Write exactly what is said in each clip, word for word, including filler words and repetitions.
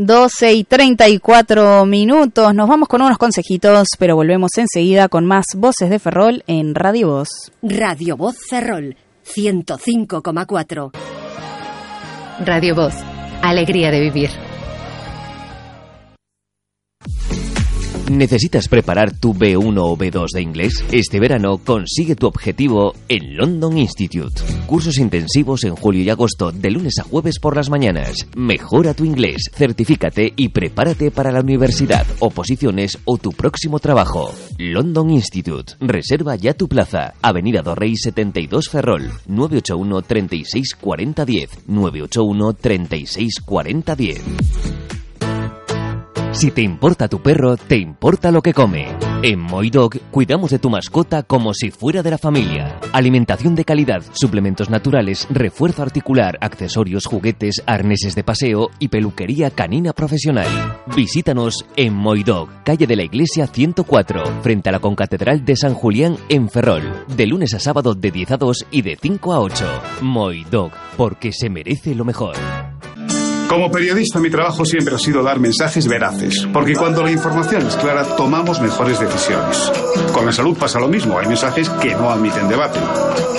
doce y treinta y cuatro minutos. Nos vamos con unos consejitos, pero volvemos enseguida con más Voces de Ferrol en Radio Voz. Radio Voz Ferrol, ciento cinco coma cuatro. Radio Voz, alegría de vivir. ¿Necesitas preparar tu B uno o B dos de inglés? Este verano consigue tu objetivo en London Institute. Cursos intensivos en julio y agosto de lunes a jueves por las mañanas. Mejora tu inglés, certifícate y prepárate para la universidad, oposiciones o tu próximo trabajo. London Institute. Reserva ya tu plaza. Avenida Dorrey setenta y dos Ferrol. nueve ocho uno, treinta y seis, cuarenta, diez. nueve ocho uno, treinta y seis, cuarenta, diez. Si te importa tu perro, te importa lo que come. En Moidog cuidamos de tu mascota como si fuera de la familia. Alimentación de calidad, suplementos naturales, refuerzo articular, accesorios, juguetes, arneses de paseo y peluquería canina profesional. Visítanos en Moidog, calle de la Iglesia ciento cuatro, frente a la Concatedral de San Julián en Ferrol. De lunes a sábado de diez a dos y de cinco a ocho. Moidog, porque se merece lo mejor. Como periodista, mi trabajo siempre ha sido dar mensajes veraces, porque cuando la información es clara, tomamos mejores decisiones. Con la salud pasa lo mismo, hay mensajes que no admiten debate.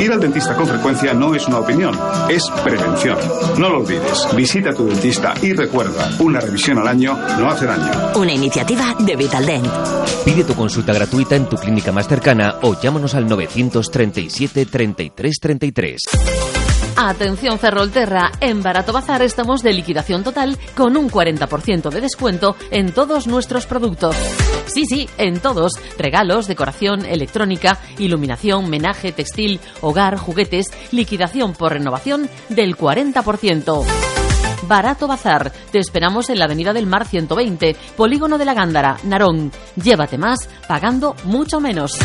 Ir al dentista con frecuencia no es una opinión, es prevención. No lo olvides, visita a tu dentista y recuerda, una revisión al año no hace daño. Una iniciativa de Vitaldent. Pide tu consulta gratuita en tu clínica más cercana o llámanos al novecientos treinta y siete, treinta y tres, treinta y tres. Atención Ferrolterra, en Barato Bazar estamos de liquidación total con un cuarenta por ciento de descuento en todos nuestros productos. Sí, sí, en todos. Regalos, decoración, electrónica, iluminación, menaje, textil, hogar, juguetes, liquidación por renovación del cuarenta por ciento. Barato Bazar. Te esperamos en la Avenida del Mar ciento veinte, Polígono de la Gándara, Narón. Llévate más pagando mucho menos.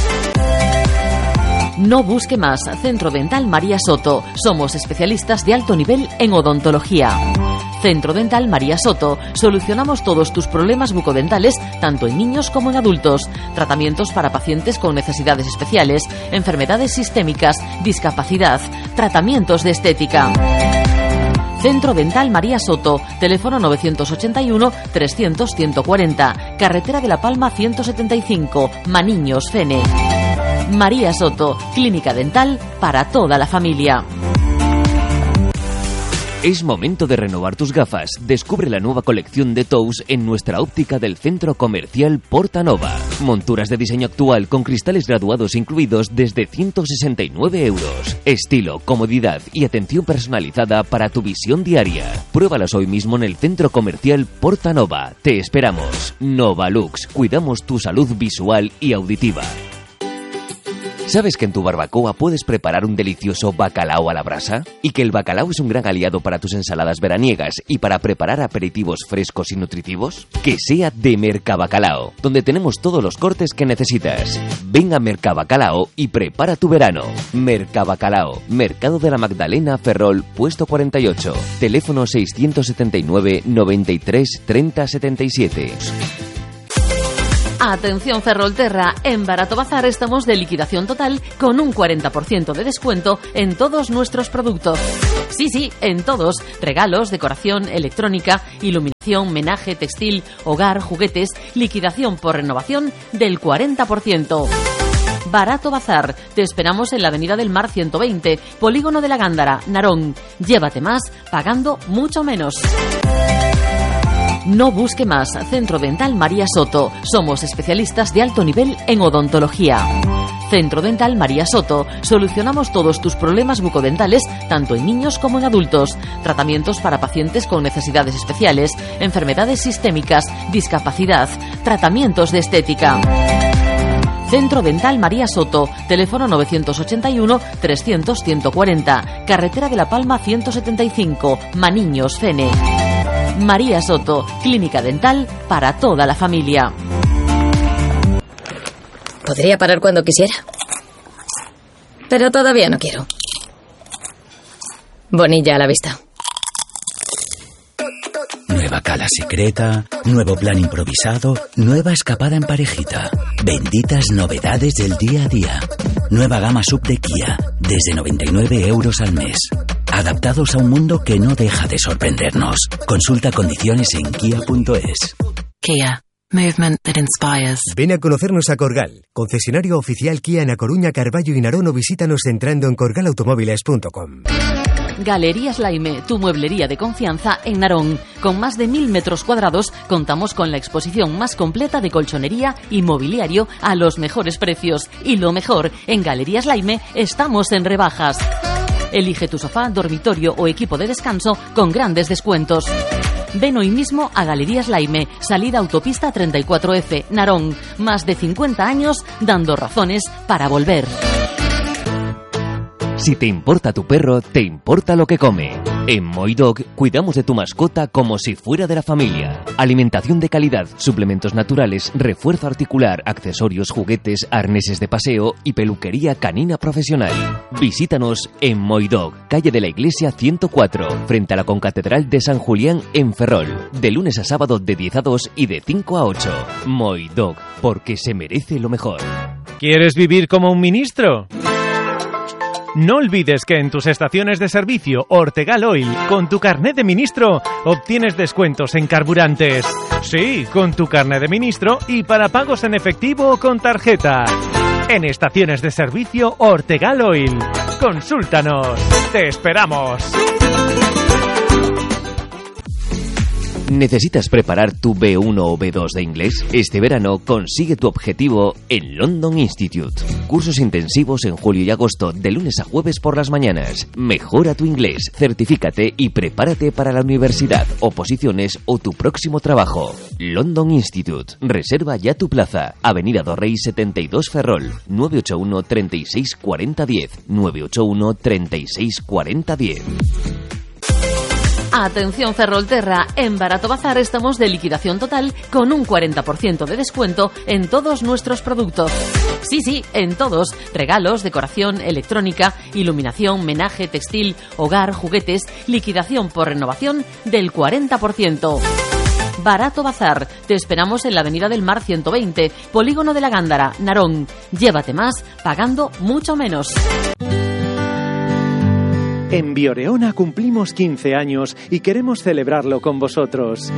No busque más. Centro Dental María Soto. Somos especialistas de alto nivel en odontología. Centro Dental María Soto. Solucionamos todos tus problemas bucodentales, tanto en niños como en adultos. Tratamientos para pacientes con necesidades especiales, enfermedades sistémicas, discapacidad, tratamientos de estética. Centro Dental María Soto, teléfono novecientos ochenta y uno, trescientos, ciento cuarenta, Carretera de la Palma ciento setenta y cinco, Maniños, Fene. María Soto, clínica dental para toda la familia. Es momento de renovar tus gafas. Descubre la nueva colección de Tous en nuestra óptica del Centro Comercial Portanova. Monturas de diseño actual con cristales graduados incluidos desde ciento sesenta y nueve euros. Estilo, comodidad y atención personalizada para tu visión diaria. Pruébalas hoy mismo en el Centro Comercial Portanova. Te esperamos. Novalux. Cuidamos tu salud visual y auditiva. ¿Sabes que en tu barbacoa puedes preparar un delicioso bacalao a la brasa? Y que el bacalao es un gran aliado para tus ensaladas veraniegas y para preparar aperitivos frescos y nutritivos? Que sea de Mercabacalao, donde tenemos todos los cortes que necesitas. Ven a Mercabacalao y prepara tu verano. Mercabacalao, Mercado de la Magdalena, Ferrol, puesto cuarenta y ocho. Teléfono seiscientos setenta y nueve, noventa y tres, treinta, setenta y siete. Atención Ferrolterra, en Barato Bazar estamos de liquidación total con un cuarenta por ciento de descuento en todos nuestros productos. Sí, sí, en todos. Regalos, decoración, electrónica, iluminación, menaje, textil, hogar, juguetes, liquidación por renovación del cuarenta por ciento. Barato Bazar. Te esperamos en la Avenida del Mar ciento veinte, Polígono de la Gándara, Narón. Llévate más pagando mucho menos. No busque más. Centro Dental María Soto. Somos especialistas de alto nivel en odontología. Centro Dental María Soto. Solucionamos todos tus problemas bucodentales, tanto en niños como en adultos. Tratamientos para pacientes con necesidades especiales, enfermedades sistémicas, discapacidad, tratamientos de estética. Centro Dental María Soto, teléfono novecientos ochenta y uno, trescientos, ciento cuarenta, Carretera de la Palma ciento setenta y cinco, Maniños, Fene. María Soto, clínica dental para toda la familia. Podría parar cuando quisiera, pero todavía no quiero. Bonilla a la vista. Nueva cala secreta, nuevo plan improvisado, nueva escapada en parejita. Benditas novedades del día a día. Nueva gama sub de Kia, desde noventa y nueve euros al mes. adaptados a un mundo que no deja de sorprendernos. Consulta condiciones en kia punto es. Kia. Movement that inspires. Ven a conocernos a Corgal, concesionario oficial Kia en A Coruña, Carballo y Narón, o visítanos entrando en corgal automóviles punto com. Galerías Laime, tu mueblería de confianza en Narón. Con más de mil metros cuadrados, contamos con la exposición más completa de colchonería y mobiliario a los mejores precios. Y lo mejor, en Galerías Laime estamos en rebajas. Elige tu sofá, dormitorio o equipo de descanso con grandes descuentos. Ven hoy mismo a Galerías Laime, salida autopista treinta y cuatro F, Narón. Más de cincuenta años dando razones para volver. Si te importa tu perro, te importa lo que come. En Moidog cuidamos de tu mascota como si fuera de la familia. Alimentación de calidad, suplementos naturales, refuerzo articular, accesorios, juguetes, arneses de paseo y peluquería canina profesional. Visítanos en Moidog, calle de la Iglesia ciento cuatro, frente a la Concatedral de San Julián en Ferrol. De lunes a sábado de diez a dos y de cinco a ocho. Moidog, porque se merece lo mejor. ¿Quieres vivir como un ministro? No olvides que en tus estaciones de servicio Ortegal Oil, con tu carnet de ministro, obtienes descuentos en carburantes. Sí, con tu carnet de ministro y para pagos en efectivo o con tarjeta. En estaciones de servicio Ortegal Oil. Consúltanos. ¡Te esperamos! ¿Necesitas preparar tu B uno o B dos de inglés? Este verano consigue tu objetivo en London Institute. Cursos intensivos en julio y agosto de lunes a jueves por las mañanas. Mejora tu inglés, certifícate y prepárate para la universidad, oposiciones o tu próximo trabajo. London Institute. Reserva ya tu plaza. Avenida Dorrey setenta y dos Ferrol. nueve ocho uno, treinta y seis, cuarenta, diez. nueve ocho uno, treinta y seis, cuarenta, diez. Atención Ferrolterra, en Barato Bazar estamos de liquidación total con un cuarenta por ciento de descuento en todos nuestros productos. Sí, sí, en todos. Regalos, decoración, electrónica, iluminación, menaje, textil, hogar, juguetes, liquidación por renovación del cuarenta por ciento. Barato Bazar. Te esperamos en la Avenida del Mar ciento veinte, Polígono de la Gándara, Narón. Llévate más pagando mucho menos. En Bioreona cumplimos quince años y queremos celebrarlo con vosotros.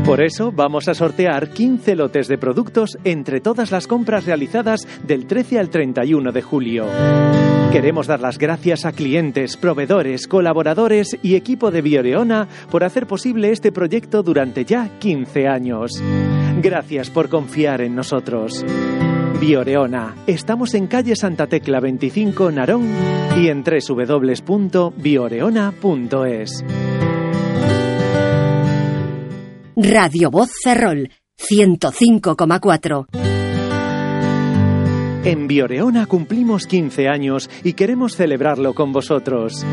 Por eso vamos a sortear quince lotes de productos entre todas las compras realizadas del trece al treinta y uno de julio. Queremos dar las gracias a clientes, proveedores, colaboradores y equipo de Bioreona por hacer posible este proyecto durante ya quince años. Gracias por confiar en nosotros. Bioreona. Estamos en calle Santa Tecla veinticinco, Narón, y en doble u doble u doble u punto bioreona punto es. Radio Voz Ferrol, ciento cinco coma cuatro. En Bioreona cumplimos quince años y queremos celebrarlo con vosotros.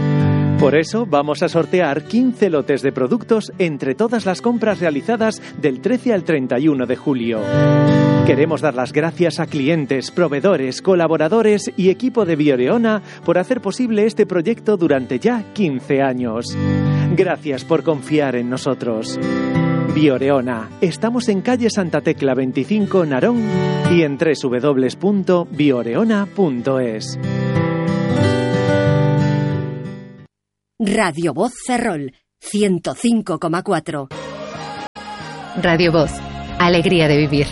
Por eso vamos a sortear quince lotes de productos entre todas las compras realizadas del trece al treinta y uno de julio. Queremos dar las gracias a clientes, proveedores, colaboradores y equipo de Bioreona por hacer posible este proyecto durante ya quince años. Gracias por confiar en nosotros. Bioreona. Estamos en calle Santa Tecla veinticinco, Narón, y en doble u doble u doble u punto bioreona punto es. Radio Voz Ferrol, ciento cinco coma cuatro. Radio Voz. Alegría de vivir.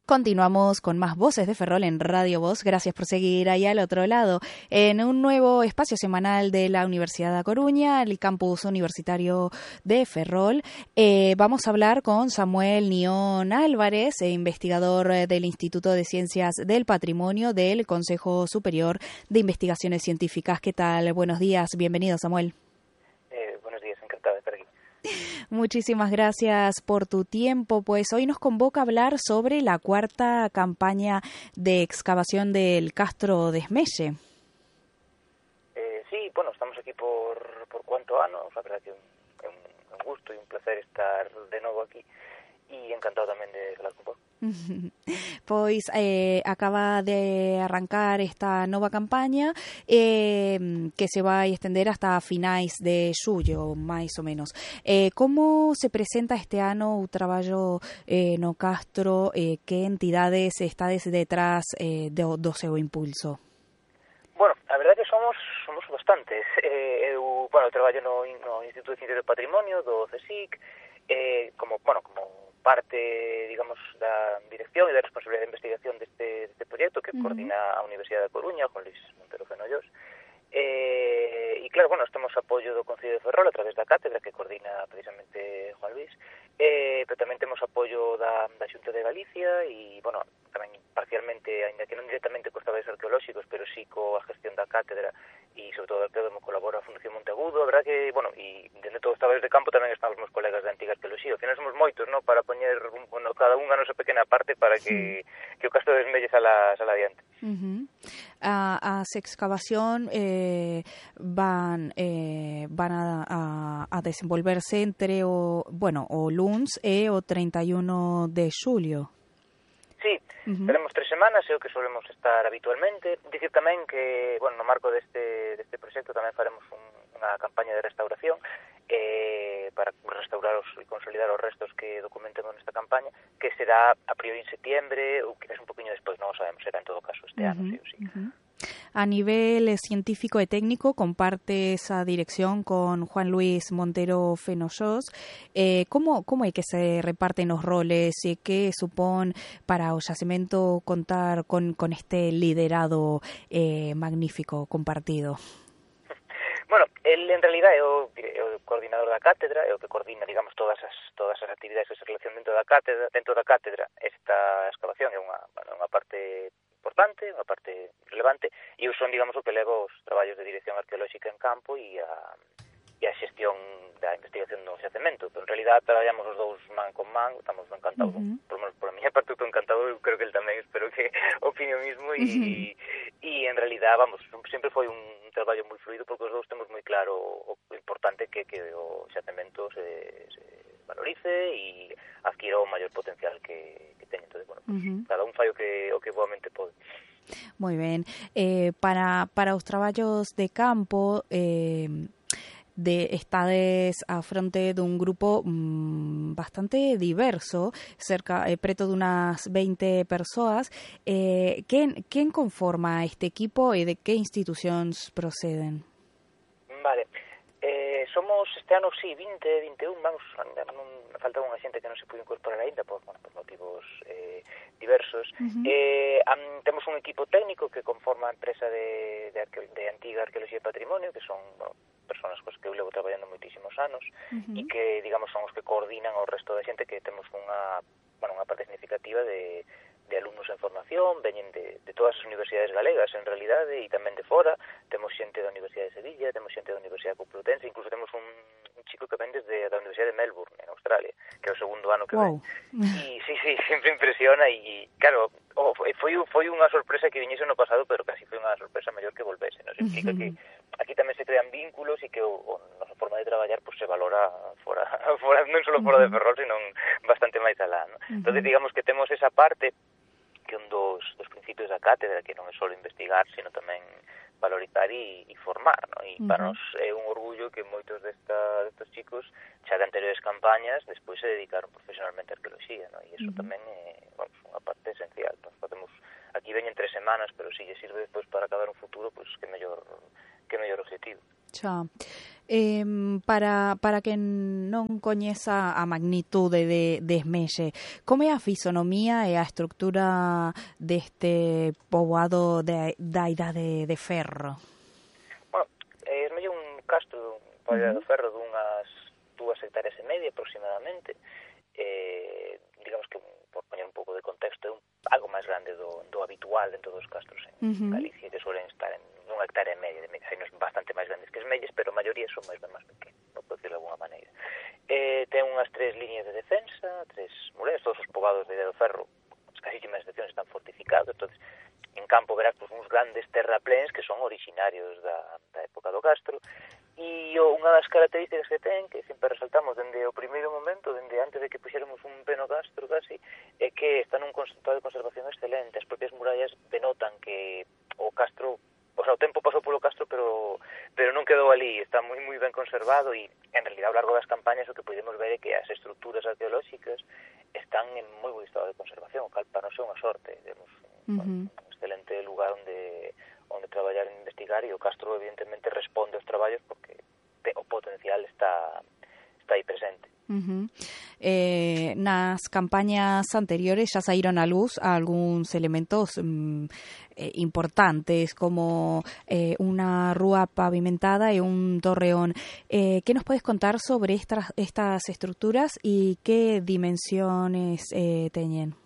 Continuamos con más Voces de Ferrol en Radio Voz. Gracias por seguir ahí al otro lado. En un nuevo espacio semanal de la Universidad de A Coruña, el campus universitario de Ferrol, eh, vamos a hablar con Samuel Nión Álvarez, eh, investigador del Instituto de Ciencias del Patrimonio del Consejo Superior de Investigaciones Científicas. ¿Qué tal? Buenos días. Bienvenido, Samuel. Eh, buenos días. Encantado de estar aquí. Muchísimas gracias por tu tiempo. Pues hoy nos convoca a hablar sobre la cuarta campaña de excavación del Castro de Esmelle. Eh, sí, bueno, estamos aquí por, por cuánto ano. La verdad que es un, un gusto y un placer estar de nuevo aquí y encantado también de falar con vos. Pois eh, acaba de arrancar esta nova campaña eh, que se vai estender hasta finais de xullo, máis ou menos. Eh, como se presenta este ano o traballo eh, no Castro? Eh, que entidades estades detrás eh, do, do seu impulso? Bueno, a verdade que somos somos bastantes. Eh, eu, bueno, traballo no, no Instituto de Ciencias do Patrimonio do CSIC, eh, como, bueno, como parte, digamos, da dirección e da responsabilidade de investigación deste, deste proxecto que uh-huh. coordina a Universidade da Coruña, Juan Luis Montero Fenollós. Eh, e claro, bueno, estamos apoio do Concello de Ferrol a través da cátedra que coordina precisamente Juan Luis, eh, pero tamén temos apoio da, da Xunta de Galicia e, bueno, tamén parcialmente, ainda que non directamente cos traballos arqueolóxicos, pero sí coa gestión da cátedra e sobre todo arqueólogo colabora a Fundación Monteagudo. A verdad que, bueno, e dentro de todos os traballos de campo tamén están os meus colegas da antiga arqueoloxía. Ao final somos moitos, ¿no?, para poñer, un, bueno, cada unha a nosa pequena parte para que, sí. que o Castro de Esmelles sala, sala adiante. Uh-huh. A, as excavación eh, van eh, van a, a, a desenvolverse entre o, bueno, o luns e o treinta e un de xulio. Sí, uh-huh. Teremos tres semanas, é o que solemos estar habitualmente. Dicir tamén que, bueno, no marco deste, deste proxecto tamén faremos un, unha campaña de restauración eh, para restaurar os, e consolidar os restos que documentemos nesta campaña, que será a priori en septiembre ou quizás un poquinho despois, non o sabemos, será en todo caso este uh-huh. ano, sí ou sí. Uh-huh. A nivel científico e técnico, comparte esa dirección con Juan Luis Montero Fenollós. Eh, como, como é que se reparten os roles e que supón para o xacemento contar con, con este liderado eh, magnífico compartido? Bueno, el en realidad é o, é o coordinador da cátedra, é o que coordina, digamos, todas as todas as actividades que se relacionan dentro da cátedra. Dentro da cátedra, esta excavación é unha, bueno, unha parte importante, unha parte relevante, e eu son, digamos, o que levo os traballos de dirección arqueolóxica en campo e a, e a xestión da investigación do xacemento. Pero en realidad traballamos os dous man con man, estamos encantados, uh-huh. por, por a miña parte estou encantado, eu creo que el tamén, espero que opine o mismo, e, uh-huh. e en realidad, vamos, sempre foi un traballo moi fluido porque os dous temos moi claro o importante que que o xacemento se, se valorice e adquira o maior potencial que, que teña. Entón, bueno, pues, uh-huh. cada un fai o que, o que boamente pode. Moi ben. Eh, para, para os traballos de campo, eh, de estades a fronte dun grupo mmm, bastante diverso, cerca eh, preto dunhas veinte persoas. Eh, quen, quen conforma este equipo e de que institucións proceden? Vale. Eh, somos este ano, sí, vinte, vinte e un, vamos, non, falta unha xente que non se pudo incorporar ainda por, bueno, por motivos eh, diversos. Uh-huh. Eh, am, temos un equipo técnico que conforma a empresa de, de, arque, de antiga arqueoloxía e patrimonio, que son, bueno, personas cos que eu levo traballando moitísimos anos, uh-huh. e que, digamos, son os que coordinan o resto da xente, que temos unha, bueno, unha parte significativa de de alumnos en formación, veñen de, de todas as universidades galegas, en realidade, e tamén de fora. Temos xente da Universidade de Sevilla, temos xente da Universidade Complutense, incluso temos un, un chico que ven desde a Universidade de Melbourne, en Australia, que é o segundo ano que wow. ven. E sí, sí, sempre impresiona, e claro, oh, foi, foi unha sorpresa que viñese no pasado, pero casi foi unha sorpresa maior que volvese, nos implica uh-huh. que aquí tamén se crean vínculos e que o, o nosa forma de traballar pues, se valora fora, fora non só fora uh-huh. de Ferrol, sino bastante máis alá, ¿no? Uh-huh. Entonces, digamos que temos esa parte que un dos, dos principios da cátedra, que non é só investigar, sino tamén valorizar e, e formar, ¿no? E uh-huh. para nos é un orgullo que moitos desta, destes chicos, xa de anteriores campañas, despois se dedicaron profesionalmente a arqueoloxía, ¿no? E iso uh-huh. tamén é, bueno, unha parte esencial. Nos podemos, aquí veñen tres semanas, pero se si lle sirve despois para acabar un futuro, pois pues, que mellor que mellor objetivo. Xa. Eh, para, para que non coñeza a magnitude de, de Esmelle, como é a fisonomía e a estructura deste poboado de, da idade de ferro? Bueno, Esmelle é un castro da idade uh-huh. de ferro dunhas dúas hectáreas e media aproximadamente. Eh, digamos que, por poñer un pouco de contexto, é un, algo máis grande do, do habitual dentro dos castros en uh-huh. Galicia, que suelen estar en unha hectárea e media de media. Hai nos bastante máis grandes que Esmelles, pero a maioría son máis ben máis pequenos, non podo decirlo de alguna maneira. Eh, ten unhas tres liñas de defensa, tres mureas, todos os poboados de Idade do Ferro, as casísimas seccións están fortificados, entonces en campo verás pues, uns grandes terrapléns que son orixinarios da, da época do castro, e unha das características que ten, que sempre resaltamos dende o primeiro momento, dende antes de que puxéramos un peno castro casi, é que está nun estado de conservación excelente. As propias murallas denotan que o castro, o sea, o tempo pasou polo castro, pero pero non quedou ali, está moi moi ben conservado, e en realidad ao largo das campañas o que podemos ver é que as estruturas arqueolóxicas están en moi bon estado de conservación, o cal para non ser unha sorte, temos uh-huh. un excelente lugar onde onde traballar e investigar, e o Castro evidentemente responde aos traballos porque o potencial está está aí presente. Uh-huh. Eh, nas campañas anteriores xa saíron a luz algúns elementos mm, eh, importantes como eh, unha rúa pavimentada e un torreón. Eh, que nos podes contar sobre estas, estas estructuras e que dimensiones eh, teñen?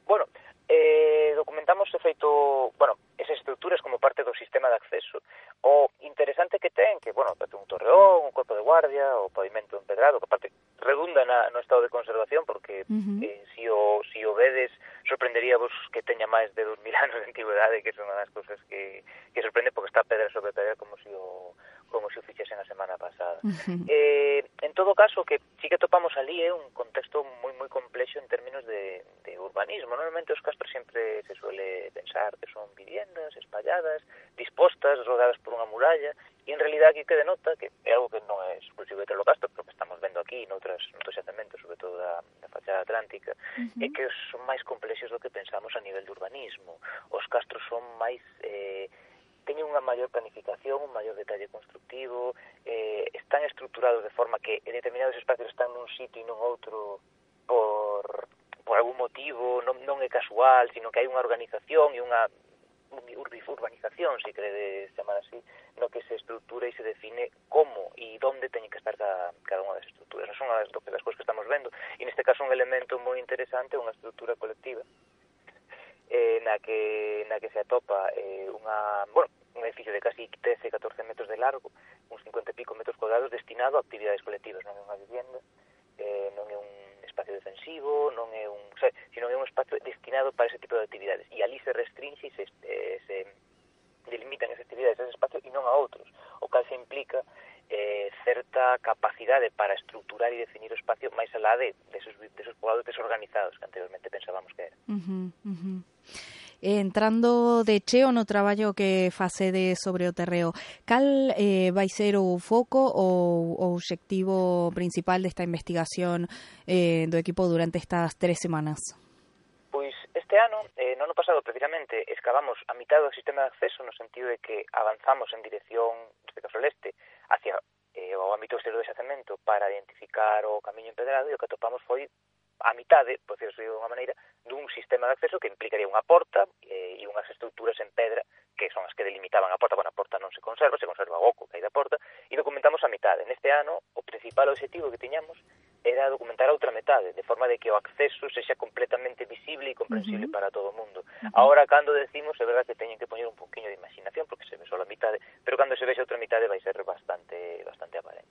Bueno, eh, documentamos de feito, bueno, esas estructuras como parte do sistema de acceso. O interesante que ten, que, bueno, ten un torreón, un corpo de guardia, o pavimento empedrado, que aparte redunda na, no estado de conservación, porque uh-huh. eh, si, o, si o vedes, sorprenderíavos que teña máis de dos mil anos de antigüedade, que son unhas cousas que, que sorprende porque está pedra sobre pedra como si o como se o fixesen a semana pasada. Uh-huh. Eh, en todo caso, que sí que topamos ali é eh, un contexto moi moi complexo en términos de, de urbanismo. Normalmente os castros sempre se suele pensar que son viviendas espalladas, dispostas, rodeadas por unha muralla, e en realidad aquí que denota, que é algo que non é exclusivo de Telocastro, pero que estamos vendo aquí noutras, noutros xacementos, sobre todo da, da fachada atlántica, uh-huh. é que son máis complexos do que pensamos a nivel de urbanismo. Os castros son máis... Eh, teñen unha maior planificación, un maior detalle constructivo, eh, están estructurados de forma que en determinados espacios están nun sitio e non outro por, por algún motivo, non, non é casual, sino que hai unha organización e unha urbanización, se queredes chamar así, no que se estrutura e se define como e onde teñen que estar cada, cada unha das estructuras. Non son as, das cousas que estamos vendo, e neste caso un elemento moi interesante, unha estructura colectiva, eh, na que na que se atopa eh, unha, bueno, un edificio de casi trece a catorce metros de largo, uns cincuenta e pico metros cuadrados, destinado a actividades colectivas. Non é unha vivienda, eh, non é un espacio defensivo, non é un, o sea, sino é un espacio destinado para ese tipo de actividades, e ali se restringe e se, eh, se delimitan esas actividades a ese espacio e non a outros, o cal se implica eh, certa capacidade para estruturar e definir o espacio máis alá de, de, esos, de esos poblados desorganizados que anteriormente pensábamos que era. Uh-huh, uh-huh. Entrando de cheo no traballo que facede sobre o terreo, cal eh, vai ser o foco ou o obxectivo principal desta investigación eh, do equipo durante estas tres semanas? Pois este ano, eh, no ano pasado precisamente, excavamos a mitad do sistema de acceso no sentido de que avanzamos en dirección, neste caso al este, hacia eh, o ámbito exterior do xacemento para identificar o camiño empedrado, e o que atopamos foi a mitade, por decirlo de unha maneira, dun sistema de acceso que implicaría unha porta eh, e unhas estructuras en pedra que son as que delimitaban a porta. Bueno, a porta non se conserva, se conserva o oco que hai da porta, e documentamos a mitade. Neste ano, o principal objetivo que tiñamos era documentar a outra metade, de forma de que o acceso sexa completamente visible e comprensible uh-huh. para todo o mundo. Uh-huh. Ahora, cando decimos, é verdad que teñen que poñer un poquinho de imaginación, porque se ve só a mitade, pero cando se vexe a outra mitade vai ser bastante bastante aparente.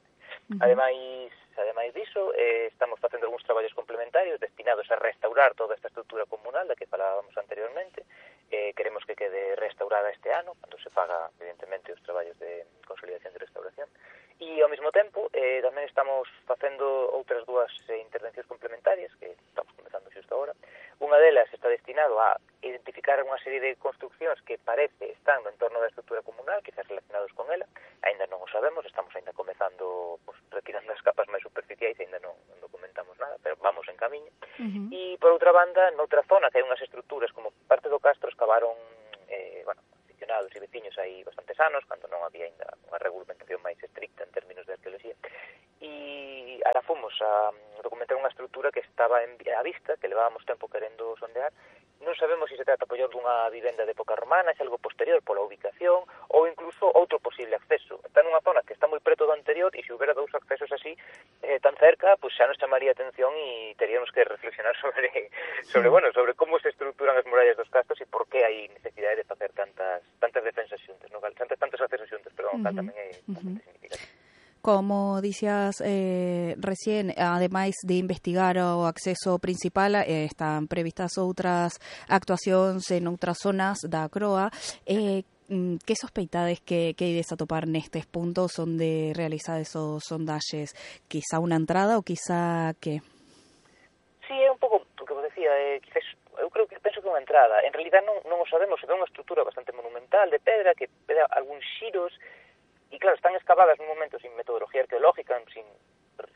Uh-huh. Ademais, ademais diso, eh, estamos facendo algúns traballos complementarios destinados a restaurar toda esta estrutura comunal da que falábamos anteriormente. Eh, queremos que quede restaurada este ano, cando se faga, evidentemente, os traballos de consolidación e restauración. E, ao mesmo tempo, eh, tamén estamos facendo outras dúas eh, intervencións complementarias, que estamos comenzando xusto agora. Unha delas está destinado a identificar unha serie de construccións que parece están no entorno da estrutura comunal, quizás relacionados con ela. Ainda non o sabemos, estamos ainda comezando, pues, retirando as capas máis superficiais, ainda non, non documentamos nada, pero vamos en camiño. Uh-huh. E, por outra banda, noutra zona que hai unhas estruturas como parte do Castro, excavaron, eh, bueno, aficionados e veciños hai bastantes anos, cando non había ainda unha regulamentación máis estricta en términos de arqueoloxía, e ahora fomos a documentar unha estrutura que estaba en, a vista, que levábamos tempo querendo sondear. Non sabemos se se trata apoiar dunha vivenda de época romana, se algo posterior pola ubicación, ou incluso outro posible acceso. Está nunha zona que está moi preto do anterior, e se houbera dous accesos así eh, tan cerca, pues xa nos chamaría a atención e teríamos que reflexionar sobre, sobre, bueno, sobre como se estruturan as murallas dos castros e por que hai necesidade de facer tantas tantas defensas xuntas, no? tantas, tantos accesos xuntos, perdón, uh-huh. tamén é bastante uh-huh. significativo. Como dicías eh, recién, ademais de investigar o acceso principal, eh, están previstas outras actuacións en outras zonas da Croa. Eh, que sospeitades que, que ides a topar nestes puntos onde realizades os sondaxes? Quizá unha entrada ou quizá que? Sí, é un pouco o que vos decía, eh, quizás eu creo que penso que unha entrada. En realidad non, non o sabemos, se ve unha estrutura bastante monumental de pedra que pede algúns xiros. E claro, están excavadas nun momento sin metodología arqueológica, sin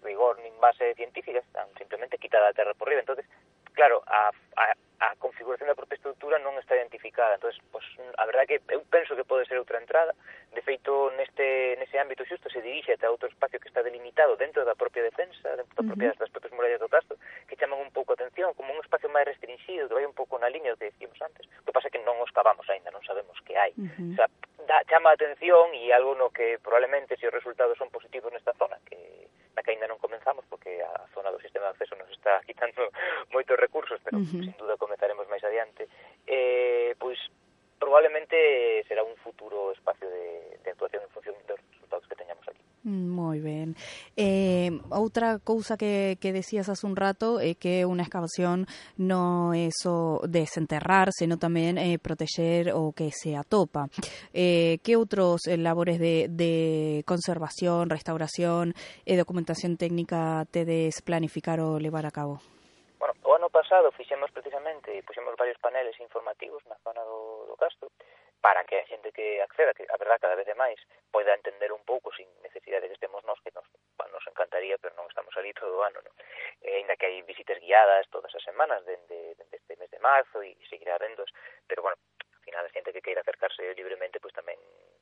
rigor nin base científica, están simplemente quitada a terra por riba. Entonces, claro, a, a a configuración da propia estrutura non está identificada. Entonces, pues, a verdade que eu penso que pode ser outra entrada. De feito, neste nese ámbito xusto se dirixe ata outro espacio que está delimitado dentro da propia defensa, dentro da propia, uh-huh. das propias murallas do castro, que chaman un pouco a atención, como un espacio máis restringido, que vai un pouco na línea do que decíamos antes. O que pasa é que non os cavamos aínda, non sabemos que hai. Uh-huh. O sea, da, chama a atención e algo no que probablemente, se os resultados son positivos nesta zona, que na que aínda non comenzamos, porque a zona do sistema de acceso nos está quitando moitos recursos, pero uh-huh. sin duda comenzaremos máis adiante, eh, pois probablemente será un futuro espacio de, de actuación en función dos resultados que teñamos aquí. Moi ben. Eh, outra cousa que, que decías hace un rato é que unha excavación non é só desenterrar, senón tamén eh, proteger o que se atopa. Eh, que outros eh, labores de, de conservación, restauración e documentación técnica tedes planificar ou levar a cabo? Bueno, o ano pasado fixemos precisamente, puxemos varios paneles informativos na zona do, do castro, para que a xente que acceda, que a verdad cada vez é máis, poida entender un pouco sin necesidade de que estemos nós, que nos, bueno, nos encantaría, pero non estamos ali todo o ano, non? Eh, ainda que hai visitas guiadas todas as semanas dende, dende este mes de marzo e seguirá vendos, pero bueno, ao final a xente que queira acercarse libremente, pois tamén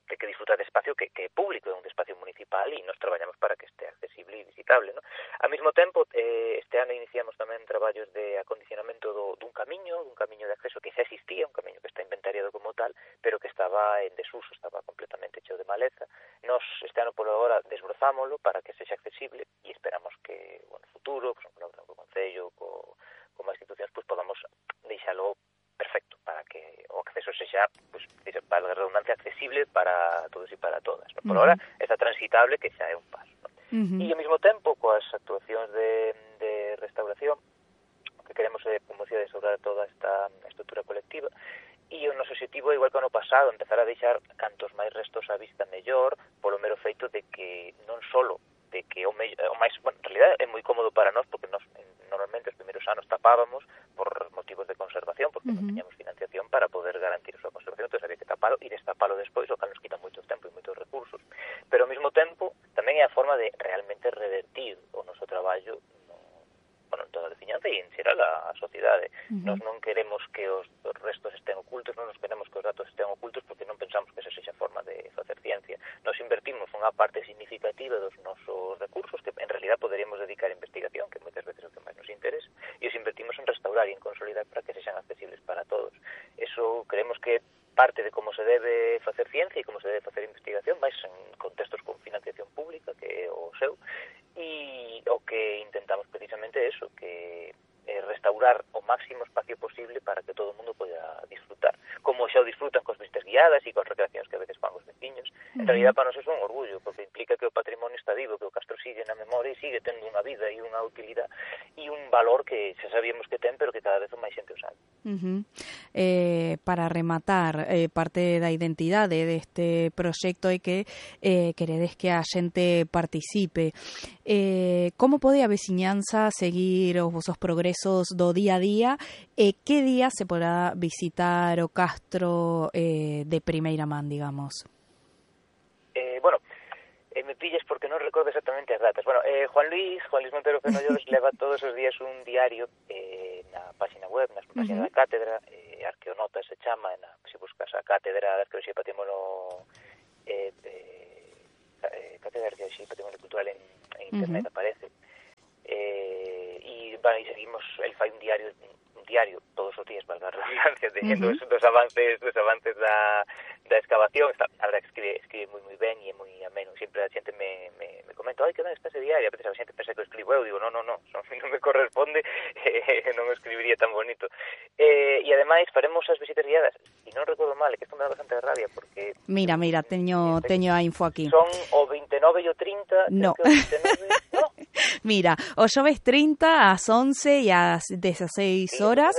ten que disfrutar de espacio que, que é público, é un espacio municipal e nos traballamos para que este accesible e visitable, non? Ao mesmo tempo, eh, este ano iniciamos tamén traballos de acondicionamento do, dun camiño, dun camiño de acceso que xa existía, un camiño que está inventariado como tal, pero que estaba en desuso, estaba completamente cheo de maleza. Nos, este ano, por agora, desbrozámolo para que sexa accesible e esperamos que, bueno, no futuro, pues, co Concello, co, como institucións, pues, podamos deixalo perfecto para que o acceso sexa, pues, para a redundancia, accesible para todos e para todas, ¿no? Por uh-huh. ahora está transitable, que xa é un paso, ¿no? Uh-huh. E ao mesmo tempo, coas actuacións de, de restauración, o que queremos é, como decía, restaurar toda esta estrutura colectiva, e o noso objetivo, igual que o ano pasado, empezar a deixar cantos máis restos á vista mellor, polo mero feito de que non solo de que o, me, o máis, bueno, en realidad é moi cómodo para nós, porque nós normalmente os primeiros anos tapábamos por motivos de conservación, porque uh-huh. non teñamos financiación para poder garantir a súa conservación, entón había que tapalo e destapalo despois, o que nos quita moito tempo e moitos recursos. Pero ao mesmo tempo, tamén é a forma de realmente revertir o noso traballo no, bueno, en toda a veciñanza e en xeral a, a sociedade. Uh-huh. Nós non queremos que os, os restos estén ocultos, non nos queremos que os datos estén ocultos, porque non pensamos que esa sexa a forma de facer ciencia. Nos invertimos unha parte significativa dos nosos recursos, que en realidad poderíamos dedicar a investigación, que moitas veces é o que máis nos interesa, e os invertimos en restaurar e en consolidar para que sexan accesibles para todos. Eso creemos que parte de como se debe facer ciencia e como se debe facer investigación, máis en contextos con financiación pública, que é o seu, e o que intentamos precisamente é eso, que é restaurar o máximo espacio posible para que todo o mundo poida disfrutar. Como xa o disfrutan cos visitas guiadas e cos recreacións que a veces fan os veciños. En realidad, para nós é un orgullo, porque implica que o patrimonio está vivo, que o castro sigue na memoria e sigue tendo unha vida e unha utilidade e un valor que xa sabíamos que ten, pero que cada vez máis xente o sabe. Uh-huh. Eh, para rematar, eh, parte da identidade deste proxecto é que eh, queredes que a xente participe. Eh, como pode a veciñanza seguir os vosos progresos do día a día e que día se poderá visitar o castro eh, de primeira man, digamos? Eh, bueno, eh, me pilles porque non recordo exactamente as datas. Bueno, eh, Juan Luis, Juan Luis Montero Fenollones leva todos os días un diario eh, na página web, na página uh-huh. da cátedra, eh, Arqueonota se chama, na, se buscas a cátedra de Arqueoloxía e Patrimonio eh, eh, eh, cátedra de Arqueoloxía e Patrimonio Cultural en, en internet uh-huh. aparece. Eh, e, bueno, e seguimos, el fai un diario un diario todos os días, valga a redundancia, de uh-huh. dos, dos avances dos avances da, da excavación. Está, a verdad que escribe, escribe moi moi ben e é moi ameno. Sempre a xente me, me, me comenta, ai, que ben está ese diario, a veces a xente pensa que o escribo eu, digo, non, non, non, non me corresponde, eh, non o escribiría tan bonito. Eh, e ademais faremos as visitas guiadas, e non recordo mal, é que isto me dá bastante rabia, porque... Mira, mira, teño, teño a info aquí. Son o veintinueve e o trinta, no. Que o veintinueve, no. Mira, o xoves trinta ás once e ás dezaseis horas,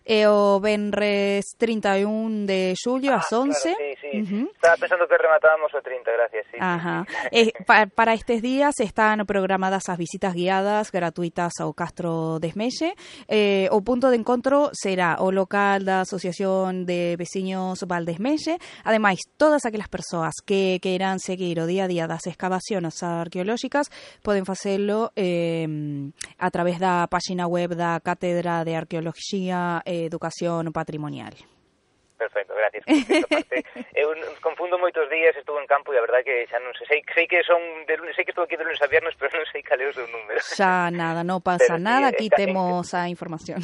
e o venres trinta e un de xullo ás once, ah, claro, sí, sí, sí. Uh-huh. Estaba pensando que rematábamos o trinta, gracias, sí. Ajá. Eh, pa, para estes días están programadas as visitas guiadas gratuitas ao Castro Desmelle. Eh, o punto de encontro será o local da Asociación de Veciños Valdesmelle. Ademais, todas aquelas persoas que queiran seguir o día a día das excavacións arqueolóxicas poden facelo eh, a través da página web da Cátedra de Arqueoloxía e Educación Patrimonial. Perfecto, gracias. Parte, eu confundo moitos días, estuve en campo e a verdade que xa non sei, sei, sei que son de lunes, sei que estou aquí de lunes a viernes, pero non sei cal é o seu número. Xa nada, non pasa pero, nada, aquí eh, temos a información.